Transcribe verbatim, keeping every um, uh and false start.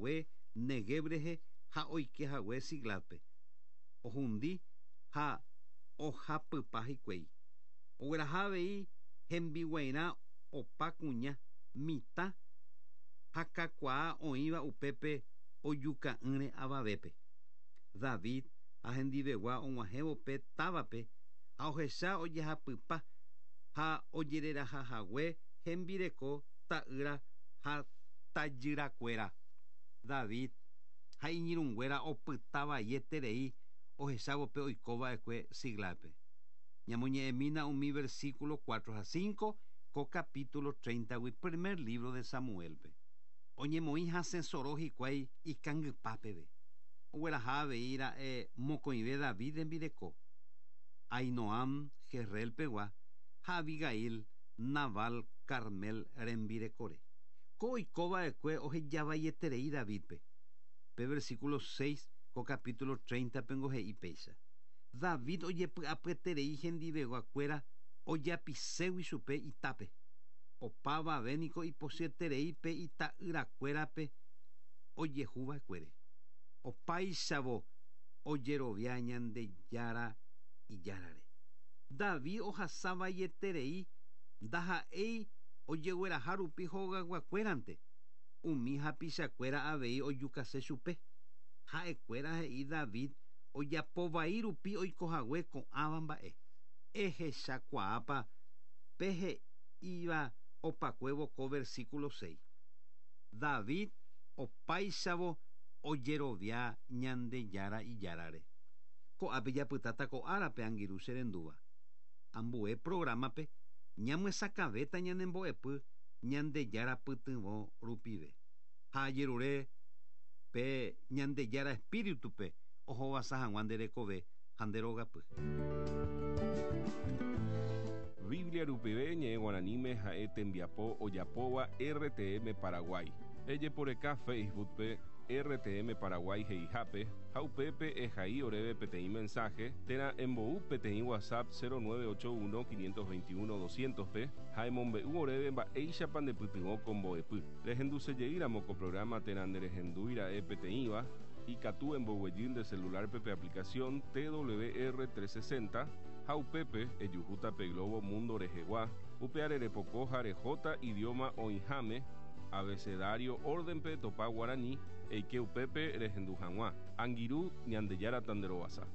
hague Negev rehe ha oike hague Siclagpe. Ohundi ha ohapypa hikuái. Ogueraha avei hembiguairã opa kuña mitã ha kakuaa oĩva upépe ojuka'ỹre avavépe. David ha hendivegua og̃uahẽvo pe távape ha ohecha ojehapypa ha ojererahahague hembireko ta'ýra ha tajyrakuéra. David ha iñirũnguéra opytavaieterei ohechávo pe oikova'ekue Siclagpe. Ñamoñe'ẽmína umi versículo cuatro ha cinco ko capítulo treinta-gui primer libro de Samuelpe. Oñemoĩ hasẽsoro hikuái ikangypa peve. Ogueraha avei ra'e mokõive David rembireko. Ahinoam Jezreelpegua ha Abigail Nabal Carmel rembirekore. Ko oikova'ekue ohejavaieterei Davidpe. Pe versículo seis ko capítulo treinta pengo he'i péicha. David ojepy'apyeterei hendiveguakuéra ojapiségui chupe itápe. Opavave niko ipochyeterei pe ita'yrakuérape ojehuva'ekuére. Opáichavo ojerovia Ñandejára ijárare. David ohasavaieterei ndaha'éi ojegueraha rupi hogaguakuérante. Umi hapichakuéra avei ojukase chupe. Ha'ekuéra he'i David ojapovai rupi oikohague ko'ãva mba'e. Ehechakuaápa pe he'íva opakuévo ko versículo seis. David opáichavo ojerovia Ñandejára ijárare. Ko'ápe japytáta ko árape angirũ che rendúva. Ambue programape ñamyesakãvéta ñanembo'epy Ñandejára pytyvõ rupive. Ha ajerure pe Ñandejára espíritupe ohovasa hag̃ua nde rekove ha nde rogapy. Biblia rupive ñe'ẽ guaraníme ha'e tembiapo ojapóva R T M Paraguay. Ejeporeka Facebookpe R T M Paraguay he'ihápe ha upépe ehai oréve peteĩ mensaje térã embou peteĩ WhatsApp cero nueve ocho uno quinientos veintiuno doscientos pe ha emombe'u oréve mba'éichapa ndepytyvõ ko mbo'epy. Rehendusejeýramo ko programa térã nderehendúira'e peteĩva ikatu emboguejy nde celular pe aplicación T W R trescientos sesenta ha upépe ejuhúta pe Globo Mundo rehegua upe arerepoko ha rehóta idioma oĩháme abecedario órdenpe topa guarani eike upépe rehendu hag̃ua. Angirũ Ñandejára tanderovasa.